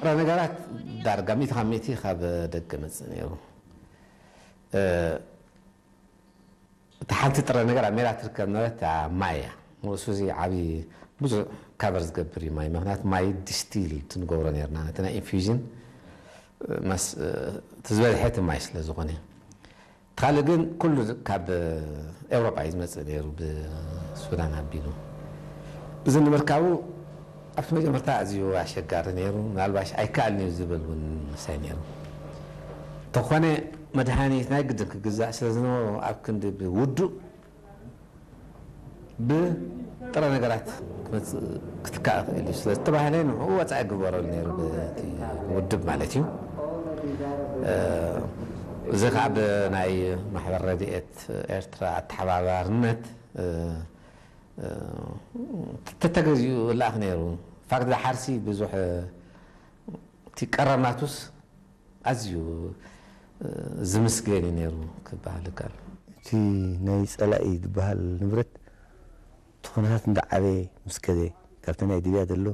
ጥረ ነገራት ዳርጋ ሚእቲ ካብ ሚእቲ ካብ ደገ መጽእ ነይሩ። እቲ ሓንቲ ጥረ ነገር ኣብ ሜዳ ትርከብ ነበረት ማይ እያ። እሱ እዚ ዓብዪ ብዙሕ ካቨር ዝገብር እዩ ማይ። ምክንያቱ ማይ ዲስቲል ትንገብሮ ነርና ነቲ ናይ ኢንፊውዥን መስ እቲ ዝበዝሐ እቲ ማይ ስለ ዝኾነ። ካልእ ግን ኩሉ ካብ ኤውሮጳ እዩ ዝመጽእ ነይሩ ብሱዳን ኣቢሉ። እዚ ንምርካቡ ኣብቲ መጀመርታ ኣዝዩ ኣሸጋሪ ነይሩ። ምናልባሽ ኣይከኣልን እዩ ዝብል እውን መሳይ ነይሩ። እንተኾነ መድሃኒት ናይ ግድን ክግዛእ ስለ ዝነበሮ ኣብ ክንዲ ብውዱእ ብጥረ ነገራት ክትካእ ይኽእል እዩ ስለ ዝተባህለ ንኡ ወፃኢ ግበረሉ ነይሩ ብቲ ውድብ ማለት እዩ። እዚ ከዓ ብናይ ማሕበር ረድኤት ኤርትራ ኣተሓባባርነት ተተገዚኡ ላኣኽ ነይሩ። ፋክት ሓርሲ ብዙሕ እቲ ቀረብ ናቱስ ኣዝዩ ዝምስገን እዩ ነይሩ ክበሃል ይከኣል። እቲ ናይ ፀላኢ ዝበሃል ንብረት እቲ ኩነታት እንዳዓበየ ምስ ከደ ካብቲ ናይ ሊብያ ዘሎ